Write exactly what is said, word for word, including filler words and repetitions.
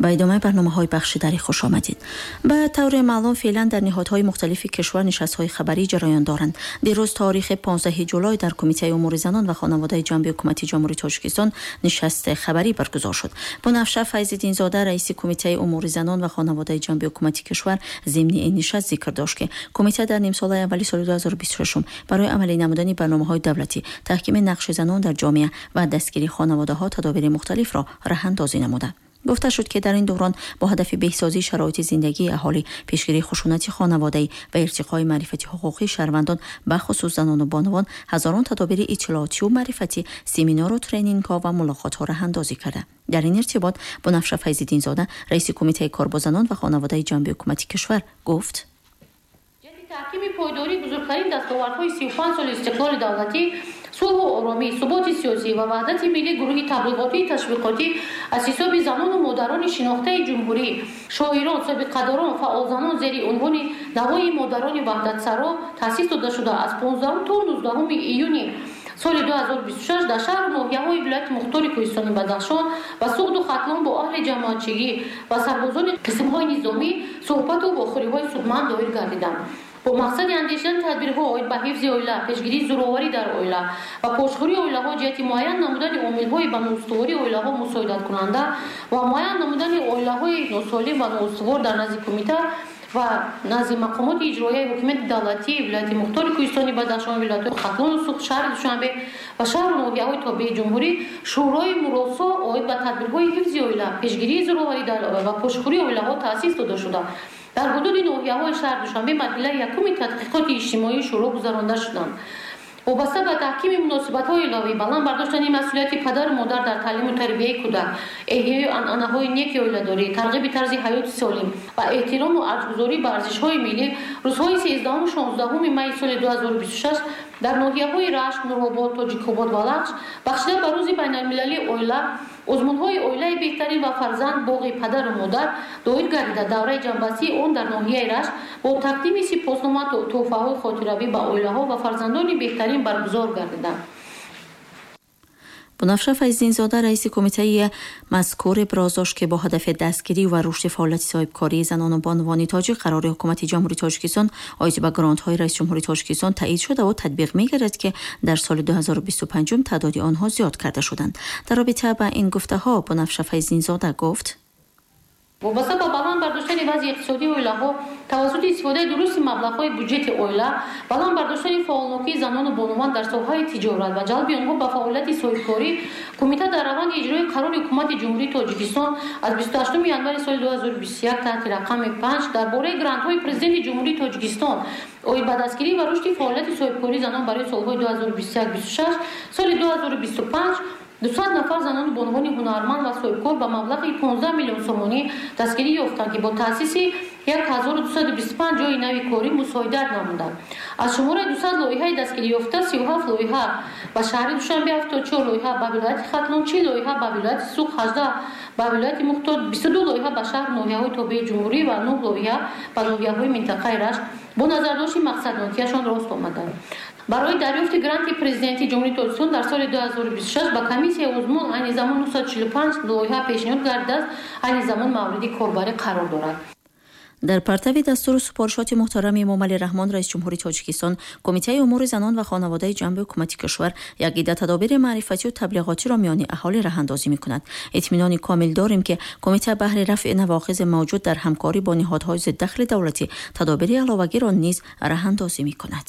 Ба идомаи барномаҳои бахшидарӣ хуш омадед. Ба таври маълум, феълан дар ниҳодҳои мухталифи кишвар нишастҳои хабарӣ ҷараён доранд. Дирӯз, таърихи понздаҳуми ҷулай, дар Кумитаи умури занон ва хонаводаи ҷамъи ҳукумати Ҷумҳурии Тоҷикистон нишасти хабарӣ баргузор шуд. Бунафша Файзиддинзода, раиси Кумитаи умури занон ва хонаводаи ҷамъи ҳукумати кишвар, зимни ин нишаст зикр дошт, ки кумита дар нимсолаи аввали соли ду ҳазору бисту шашум барои амалӣ намудани барномаҳои давлатӣ, таҳкими нақши занон дар ҷомеа ва дастгирии хонаводаҳо тадобири мухталифро роҳандозӣ намуда. Гуфта шуд, ки дар ин даврон бо ҳадафи беҳсозии шароити зиндагии аҳолӣ, пешгирии хушунати хонаводаӣ ва иртиқои маърифати ҳуқуқии шаҳрвандон, бахусус занон ва бонувон, ҳазорон тадобири иттилоотӣ ва маърифатӣ, семинар ва тренингҳо ва мулоқотҳо роҳандозӣ карда. Дар ин иртибот Бунафша Файзиддинзода, раиси Кумитаи кор бо занон ва хонаводаи ҷамъи ҳукумати кишвар, гуфт: таҳкими пойдории бузургтарин дастовардҳои сию панҷ соли истиқлоли давлатӣ, сулҳу оромӣ, суботи сиёсӣ ва ваҳдати миллӣ, гурӯҳи таблиғотии ташвиқотӣ аз ҳисоби занону модарони шинохтаи ҷумҳурӣ, шоирон, собиқадорон, фаъолзанон зери унвони «Навои модарони ваҳдатсаро» таъсис дода шуда, аз понздаҳум то нуздаҳуми июни соли ду ҳазору бисту шаш дар шаҳру ноҳияҳои вилояти мухтори Кӯҳистони Бадахшон ва Суғду Хатлон бо аҳли ҷамоатчигӣ ва сарбозони қисмҳои низомӣ суҳбату вохӯриҳои судманд доир гардиданд. Бо мақсади андешидани тадбирҳо оид ба ҳифзи оила, пешгирии зӯроварӣ дар оила ва пошхӯрии оилаҳо ҷиҳати муайян намудани омилҳои ба ноустувории оилаҳо мусоидаткунанда ва муайян намудани оилаҳои носолим ва ноустувор дар назди кумита ва назди мақомоти иҷроияи ҳукумати давлатии вилояти мухтори Кӯҳистони Бадахшон, вилоятҳои Хатлону Суғд, шаҳри Душанбе ва шаҳру ноҳияҳои тобеи ҷумҳурӣ Шӯрои муросо оид ба тадбирҳои ҳифзи оила, пешгирии зӯроварӣ дар оила ва пошхӯрии оилаҳо таъсис дода шуда, дар ҳудуди ноҳияҳои шаҳри Душанбе марҳилаи якуми тадқиқоти иҷтимоии шӯро гузаронда шуданд. Вобаста ба таҳкими муносибатҳои оилавӣ, баланд бардоштани масъулияти падару модар дар таълиму тарбияи кӯдак, эҳёи анъанаҳои неки оиладорӣ, тарғиби тарзи ҳаёти солим ва эҳтирому арҷгузорӣ ба арзишҳои миллӣ, рӯзҳои сездаҳуму шонздаҳуми майи соли ду ҳазору бисту шаш дар ноҳияҳои Рашт, Нуробод, Тоҷикобод ва Лахш бахшида ба рӯзи байналмилалии оила озмунҳои «Оилаи беҳтарин» ва «Фарзанд боғи падару модар» доир гардида, давраи ҷамъбастии он дар ноҳияи Рашт бо тақдими сипоснома, тӯҳфаҳои хотиравӣ ба оилаҳо ва фарзандони беҳтарин баргузор гардиданд. Бунафша Файзиддинзода, раиси кумитаи мазкур, иброз дошт, ки бо ҳадафи дастгирӣ ва рушди фаъолияти соҳибкории занону бонувони тоҷик қарори ҳукумати Ҷумҳурии Тоҷикистон оид ба грантҳои раиси ҷумҳури Тоҷикистон таъйид шуда ва татбиқ мегардад, ки дар соли ду ҳазору бисту панҷум теъдоди онҳо зиёд карда шуданд. Дар робита ба ин гуфтаҳо Бунафша Файзиддинзода гуфт: Вобаста ба баланд бардоштани вазъи иқтисодии оилаҳо тавассути истифодаи дурусти маблағҳои буҷети оила, баланд бардоштани фаъолнокии занону бонувон дар соҳаи тиҷорат ва ҷалби онҳо ба фаъолияти соҳибкорӣ, кумита дар раванди иҷрои қарори ҳукумати Ҷумҳурии Тоҷикистон аз бисту ҳаштуми январи соли ду ҳазору бисту як таҳти рақами панҷ дар бораи грантҳои Президенти Ҷумҳурии Тоҷикистон оид ба дастгирӣ ва рушди фаъолияти соҳибкории занон барои солҳои ду ҳазору бисту як бисту шаш, соли ду ҳазору бисту панҷ дусад нафар занону бонувони ҳунарманд ва соҳибкор ба маблағи понздаҳ миллион сомонӣ дастгирӣ ёфтанд, ки бо таъсиси як ҳазору дусаду бисту панҷ ҷойи нави корӣ мусоидат намуданд. Аз шумораи дусад лоиҳаи дастгирӣёфта сию ҳафт лоиҳа ба шаҳри Душанбе, ҳафтоду чор лоиҳа ба вилояти Хатлон, чил лоиҳа ба вилояти Суғд, ҳаждаҳ ба вилояти Мухтор, бисту ду лоиҳа ба шаҳру ноҳияҳои тобеи ҷумҳурӣ ва нӯҳ лоиҳа ба ноҳияҳои минтақаи Рашт бо назардошти мақсаднокиашон рост омаданд. Барои дарёфти гранти Президенти Ҷумҳурии Тоҷикистон дар соли ду ҳазору бисту шаш ба комиссияи озмун айни замон нӯҳсаду чилу панҷ лоиҳа пешниҳод гардидааст, айни замон мавриди корбарӣ қарор дорад. Дар партави дастуру супоришоти муҳтарами Эмомалӣ Раҳмон, раиси ҷумҳури Тоҷикистон, Кумитаи умури занон ва хонаводаи ҷамъи ҳукумати кишвар як идда тадобири маърифатию таблиғотиро миёни аҳолӣ роҳандозӣ мекунад. Итминони комил дорем, ки кумита баҳри рафъи навоқизи мавҷуд дар ҳамкорӣ бо ниҳодҳои зиддахли давлатӣ тадобири аловагиро низ роҳандозӣ мекунад.